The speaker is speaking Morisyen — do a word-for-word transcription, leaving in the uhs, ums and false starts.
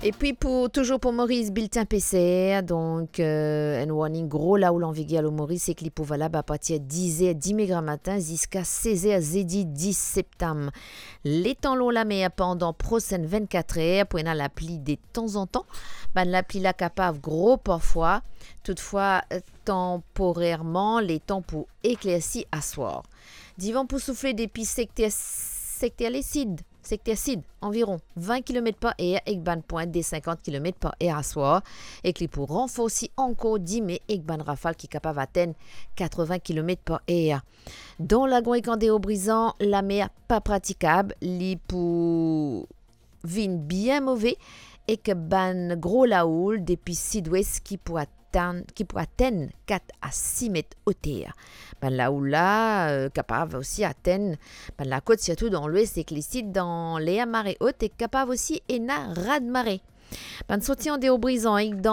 Epi pou, touzour pou Moris, biltin peser, donk, euh, enn warning gro laoul an viger lor Moris, ek li pou valab apartir diz er dime gramatin ziska sez er zedi dis septam. Letan lor lamer pandan prosenn vennkat er, pou ena lapli de tanzantan. Bann lapli la kapav gro parfwa, toutfwa, euh, tanporerman, letan pou eklersi aswar. Divan pou soufle depi sekter, sekter lesid, sekter sid, anviron vin kilomet par er, ek bann pwint de sinkant kilomet par er aswar, ek li pou ranforsi ankor dime ek bann rafal ki kapav atenn katrevin kilomet par er. Dan Lagron ek Andeor Brizan, lamer pa pratikab, li pou vinn bien move, ek bann gro laoul depi sidwes ki pou atann, ki pou atenn kat a sis met oter. Bann laoul la, euh, kapav osi atenn bann lakot, sirtou dan lwes ek lesid, dan ler mare ot, e kapav osi ena raz-mare. Bann sorti Andeor Brizan ek